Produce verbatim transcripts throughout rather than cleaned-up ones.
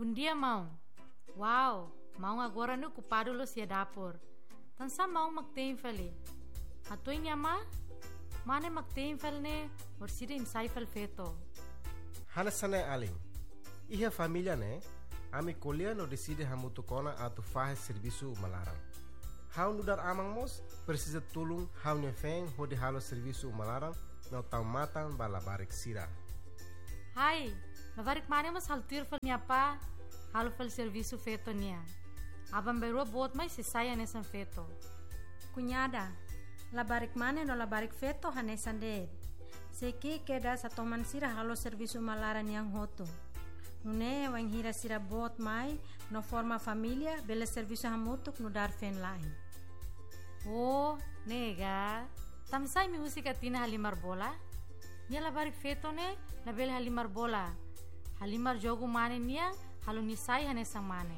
Bondia, maun. Wow, maun agora ne'e okupadu loos iha dapur. Tansá maun mak te'in fali? Hatudu iha ne'ebá, mane mak te'in fali ne'e, orsida imi sai fali feto. Hanesan ne'e alin. Iha família ne'e, ami ko'alia no deside hamutuk ona atu fahe servisu uma laran. Ha'u nu'udar aman mós presiza tulun ha'u-nia feen hodi halo servisu uma laran no tau matan ba labarik sira. Hai, labarik mane mós halo tuir fali nia apá, halo fali servisu feto nian. Aban-bainrua boot mai sei sai hanesan feto. Kuñada, labarik mane no labarik feto hanesan de'it. Sei ki'ik kedas atu toman sira halo servisu uma laran nian hotu. Nune'e wainhira sira boot mai no forma família, bele servisu hamutuk nu'udar feen-la'en. Oh, ne'e ka. Tansá imi husik Atina halimar bola? Nia labarik feto ne'e labele halimar bola. Halimar jogu mane nian, halo nia sai hanesan mane.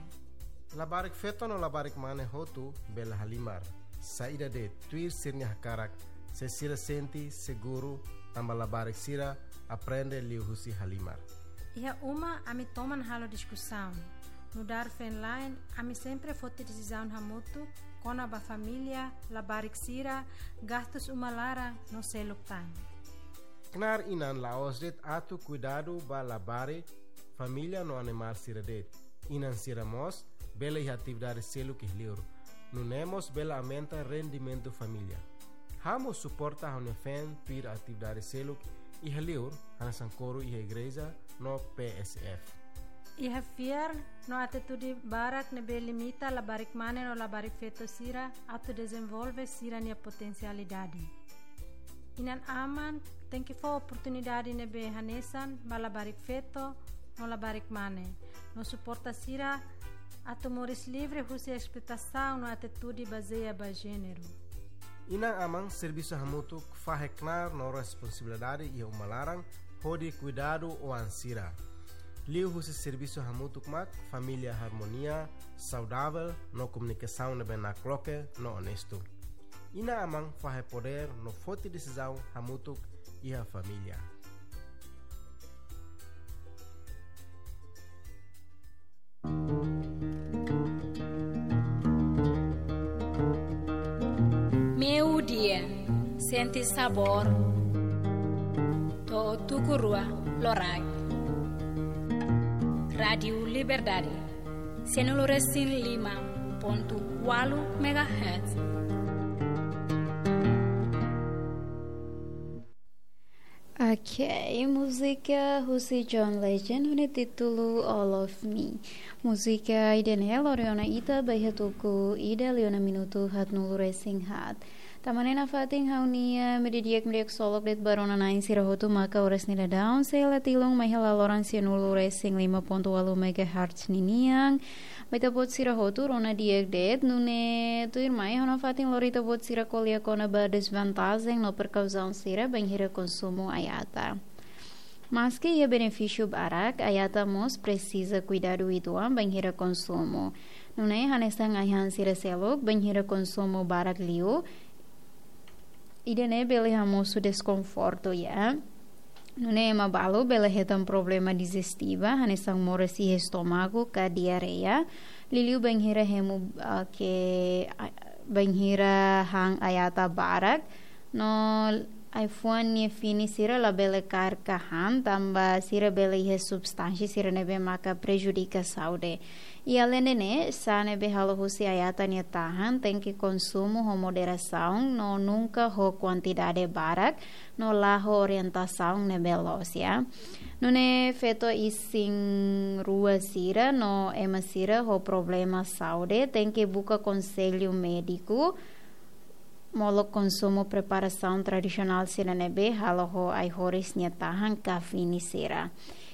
Labarik feto no labarik mane hotu bele halimar. Saida de'it, tuir sira-nia hakarak, se sira sente seguru, tanba labarik sira aprende liuhusi halimar. Iha uma ami toman halo diskusaun. Nu'udar feen-la'en, ami sempre foti desizaun hamutuk kona-ba família, labarik sira, gastus uma laran no seluk tan. Knaar inan la'ós de'it atu kuidadu ba labarik, família no animál sira de'it. Inan sira mós bele iha atividade seluk iha liur. Nune'e mós bele aumenta rendimentu família. Ha'u mós suporta ha'u-nia feen tuir atividade seluk iha liur, hanesan koru iha igreja no P S F. Iha fiar no atitude barak ne'ebé limita labarik mane no labarik feto sira atu dezenvolve sira-nia potensialidade. Inan-aman tenke fó oportunidade ne'ebé hanesan ba labarik feto no labarik mane, no suporta sira atu moris livre husi esploitasaun no atitude bazeia ba jéneru. Inan-aman servisu hamutuk fahe knaar no responsabilidade iha uma laran hodi kuidadu oan sira. Liuhusi servisu hamutuk mak família harmonia, saudavel no komunikasaun ne'ebé nakloke no onestu. Inan-aman fahe podér no foti desizaun hamutuk iha família. Meio-dia, sente sabor, to'o tuku rua loraik. Rádiu Liberdade, sianulu resin lima pontu ualu megahertz. Ok, múzika husi John Legend, ho títulu All of Me. Múzika ida-ne'e lori ona ita ba iha tuku ida liu ona minutu haatnulu resin haat. Tanba ne'e nafatin ha'u-nia meiudia di'ak, meiudia ksolok de'it ba rona-na'in sira hotu maka oras ne'e daudaun sei la tilun mai hela loron sianulu resin lima pontu ualu megahertz ninian. Ba ita-boot sira hotu rona di'ak de'it, nune'e tuirmai ha'u nafatin lori ita-boot sira ko'alia kona-ba dezvantajen no prekauzaun sira bainhira konsumu ai-ata. Maski iha benefísiu barak, ai-ata mós presiza kuidadu uitoan bainhira konsumu. Nune'e hanesan ai-han sira seluk, bainhira konsumu barak liu, ida-ne'e bele hamosu deskonfortu, ya. Nune'e ema balu bele hetan problema dijestiva, hanesan moras iha estómagu ka diarreia. Liuliu bainhira hemu, ah, ke, ah, bainhira han ai-ata barak. No ai-fuan nia fini sira labele kaer ka han, tanba sira bele iha substánsia sira ne'ebé maka prejudika saúde. I aleinde ne'e, sá ne'ebé halo husi ai-ata nia tahan tenke konsumu ho moderasaun no nunka ho kuantidade barak, no la ho orientasaun ne'ebé loos, ya. Nune'e feto isin-rua sira no ema sira ho problema saúde tenke buka konsellu médiku, molok konsumu preparasaun tradisionál sira ne'ebé halo ho ai-horis nia tahan ka fini sira.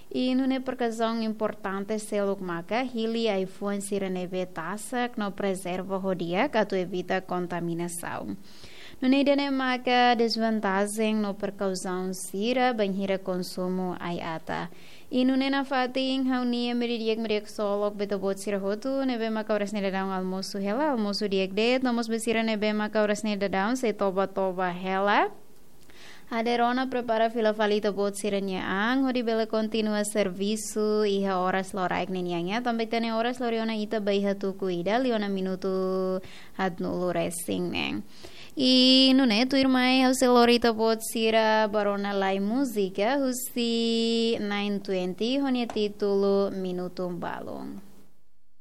I nune'e prekauzaun importante seluk maka hili ai-fuan sira ne'ebé tasak no prezerva ho di'ak atu evita kontaminasaun. Nune'e ida-ne'e maka dezvantajen no prekauzaun sira bainhira konsumu ai-ata. I nune'e nafatin ha'u-nia meiudia di'ak, meiudia ksolok ba ita-boot sira hotu ne'ebé maka oras ne'e daudaun almosu hela, almosu di'ak de'it, no mós ba sira ne'ebé maka oras ne'e daudaun sei toba-toba hela. Aderona prepara fila fali ita-boot sira-nia an hodi bele kontinua servisu iha oras loraik ninian ya. Tanba ita-nia oras lori ona ita ba iha tuku ida liu ona minutu haat-nulu resin neen. I nune'e tuirmai ha'u sei lori ita-boot sira ba rona lai múzika husi nine twenty ho nia títulu Minutu Balun.